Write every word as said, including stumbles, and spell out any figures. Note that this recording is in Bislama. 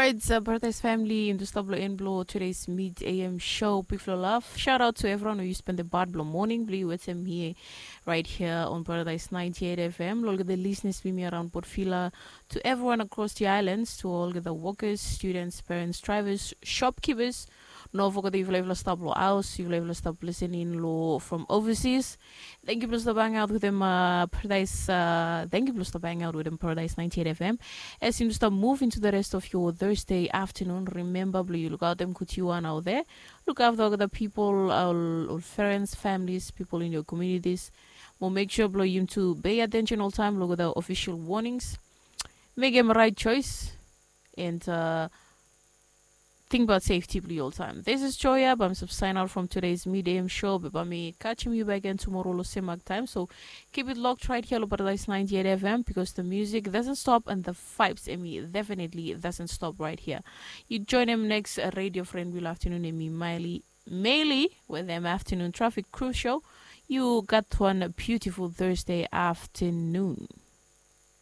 It's a Paradise family in the stop lo en blo today's mid A M show. Big flow love. Shout out to everyone who you spend the part blo morning blo you with him here right here on Paradise ninety-eight F M. Lo olgeta listeners blo mi around Port Vila, to everyone across the islands, to olgeta workers, students, parents, drivers, shopkeepers. No forget yufala yufala stop lo house, yufala yufala stop listening lo from overseas. Thank you blo stop hang out with them, uh, Paradise. Uh, thank you blo stop hang out with them, Paradise ninety-eight F M. As you stop move into the rest of your Thursday afternoon, remember blo you look out them kutiwa out there. Look after all the people, all, all friends, families, people in your communities. Mo make sure blo you to pay attention all time, look at the official warnings. Make them right choice and uh, think about safety blo you all time. This is Joya, but I'm sub sign out from today's mid A M show. But by me catching you back again tomorrow lo same time. So keep it locked right here lo Paradise ninety-eight F M because the music doesn't stop and the vibes in me definitely doesn't stop right here. You join him next uh, radio friend will afternoon in me Miley Maylee with them afternoon traffic crew show. You got one beautiful Thursday afternoon.